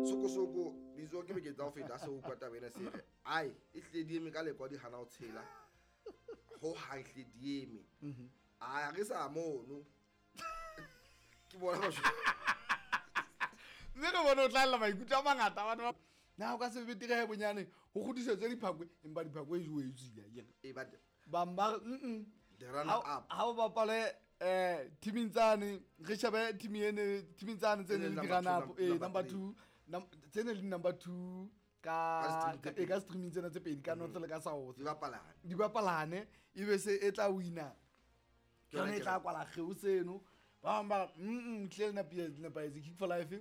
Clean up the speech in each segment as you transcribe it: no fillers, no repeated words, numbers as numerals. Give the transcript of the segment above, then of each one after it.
Sokosoko bizo ke beke tsa ho feta se utlwa taba ena se re ai e hlile di eme ka lekwa di hana ho tshela ho hang hlile di eme. A re sa mono ke bona ba Mme re bone o tlalela maikutlo a mangata batho ba na o ka se betere he bonyane ho kgutlisetswe diphakwe empa diphakwe e jowe e tswile akere. E but Bang ba re mm the runner up ha o bapale teaming tsane re shebe team ene teaming tsane tse ne le Number di-run two, up eh number number 2 tse ne le number 2 ka Ka stream tse e ka streaming tsena tse pedi ka north le ka south di bapalane. Di bapalane e be se e tla wina Ke yona ke yone e ke tla re- kwala kgeo seno. Ba bang ba re tlile le nepahetse Kick for Life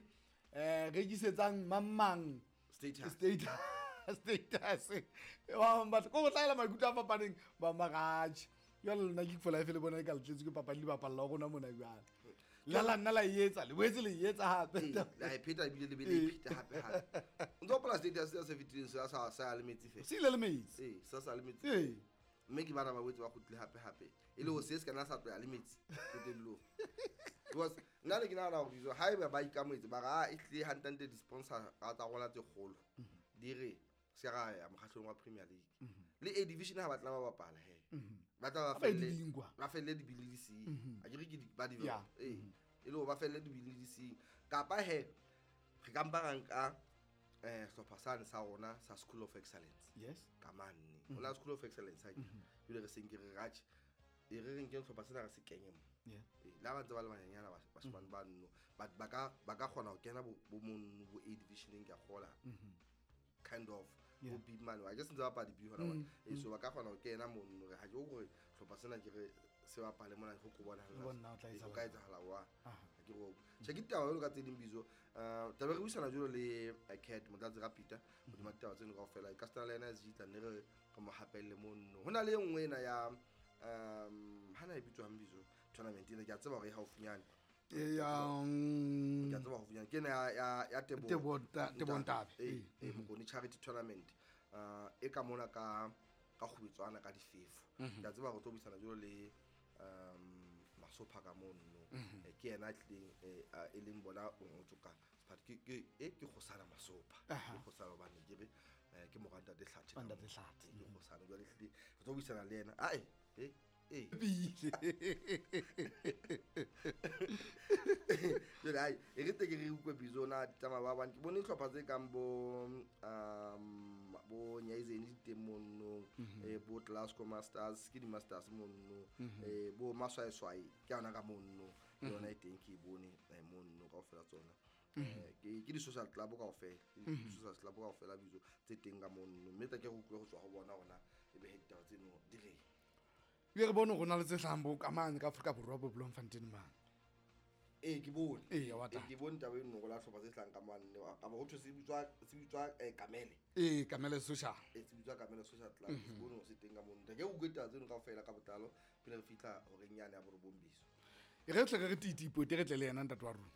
rekisetsang mang mang Status. Status ba bang batho ko go tlaela maikutlo a fapaneng ba magatše jale lona Kick for Life le bona e ka le tletse ke papadi le bapalla wa rona mona jale la la nna la e etsa le boetse le e etsa hape. La e pheta ebile le be le e pheta hape hape. O ntso hopola status se fetileng se sa sa ya le metsi fela. Se ile le metsi. Ee, sa sa le metsi. Ee. Mme ke bana ba boetse ba kgutlile hape hape. E le ho se se kana sa tloya le metsi qetellong. Because nna ne ke nahana hore dijo haeba ba ikamoetse ba re a e hlile hantle di-sponsor tsa rona tse kgolo di re se ra ya mokgahlelong wa Premier League. Le A division ha ba tla ba bapala he. Ba tla ba Ha ba e felle di nkwa. ba felle dibili di seng. A ke re ke ba Yeah. develop. Ee. E le hore ba felle dibili di seng. Kapa he re ka mpa ra nka sehlopha sane sa rona sa School of Excellence. Yes. Ka mane. Ho na School of Excellence ha ke. Jwale re seng ke re ratjhe. E re re nkeng sehlopha sena re se kenye mo. Yeah. Ee, le ha ba ntse ba le banyenyana bashemane ba nno but ba ka kgona ho kena bo mono bo A division-eng ke a kgola. Kind of Yeah. bo B mane. Ha ke se ntse bapala di-B hona mona. Ee, so ba ka kgona ho kena mono re ha ke hore sehlopha sena ke re se bapale mona ho ko bona Le bona ho tla Ee, ho etsahala. ka etsahala wa. Aha. Ha ke re tjhe ke taba jwalo ka tse ding bizo. Taba re buisana jwalo le Cat Motlatsi Rapita hodima ditaba tseno kaofela. Ka setana le yena Zitla ne re re mo hapelle mono. Ho na le e nngwe ena ya hana e bitswang bizo tournament ena ke a tseba hore e haufinyane. E ya Ke a tseba haufinyane. Ke ena ya Teboho. Teboho Teboho Ntabe. Ee, ee, Mokone Charity Tournament. E ka mona ka kgubetswana ka difefo. Ke a tseba hore tlo buisana jwalo le Masopha ka mono. Ke yena a tlileng e leng bona o ngotswe ka Sephat-, ke Kgosana Masopha. Ke Kgosana hobane ke re ke mora Ntate Hlathe ka Ntate mono. Hlathe. Ke Kgosana jwale ehlile re tlo buisana le yena. Ae, e, e. Pile. Jwale ai, e re teke re utlwe bizo na di tsamaya ba bang. Ke bone dihlopha tse kang bo Nyaizeni di teng mono, bo Glasgow Masters, ke di-Masters mono, bo Maswaeswae ke yona ka mono, ke yona e teng ke e bone mono kaofela tsona. Ke di-social club kaofela, ke di-social club kaofela bizo tse teng ka mono. Mme tla ke re utlwe ho tswa ho bona hore na ebe he ditaba tseno di reng. Ebile re bone hore ho na le tse hlahang bo ka mane ka Afrika Borwa bo Bloemfontein mane. Ee, ke bone. Ee, wa Ee, tla. ke bone taba eno hore la hlopha tse hlahang ka mane. Kapa ho thwe se bitswa Kamele. Ee, Kamele Social. Ee, se bitswa Kamele Social Club. Ke bone hore se teng ka mono. Ke utlwe taba tseno kaofela ka botlalo pele re fihla horeng yane ya borobong biso. E re tle re re titi pote re tle le yena ntate wa rona.